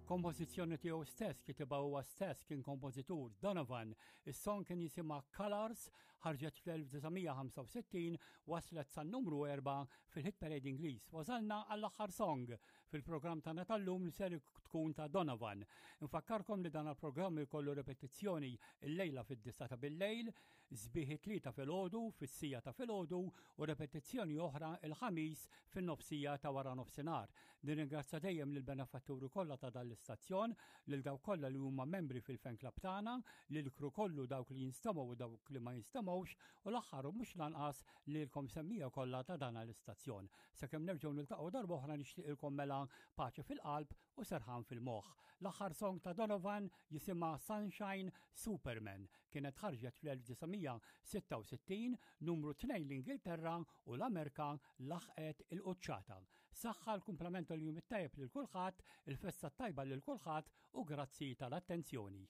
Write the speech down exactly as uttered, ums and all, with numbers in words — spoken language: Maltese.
Kompożizzjoni tiegħu stess kitibha huwa stess kien kompożitur Donovan. Is-song kien jisimha Colors, ħarġet fl-elf disa' mija ħamsa u sittin, waslet san numru erba' fil-Hit Parade Ingliż. Wasalna għall-aħħar song fil-programm tagħna tal-lum li ser tkun ta' Donovan. Infakkarkom li dan il-programm ikollu repetizzjoni il-lejla fid-disgħa ta' bil-lejl, sbieħ it-Tlieta filgħodu fis-siegħa ta' filgħodu u repetizzjoni oħra il-Ħamis fin-nofsija ta' wara nofsinhar. Nirringrazzja dejjem lill-benefatturi kollha ta' dan l-istazzjon, lil dawk kollha li huma membri fil-fan club tagħna, lil crew kollu, dawk li jinstemgħu u dawk li ma jinstemgħux, u l-aħħar u mhux lanqas lilkom semmiegħa kollha ta' dan l-istazzjon. Sakemm nerġgħu niltaqgħu darba oħra, nixtieqilkom mela paċi fil-qalb u serħan fil-moħħ. L-aħħar song ta' Donovan jisimha Sunshine Superman. Kienet ħarġet fl-elf disa' mija sitta u sittin, numru tnejn l-Ingilterra u l-Amerika laħqet il-quċċata. Saħħa, l-kumplament tal-jum it-tajjeb lil kulħadd, il-festa tajba lil kulħadd u grazzi tal-attenzjoni.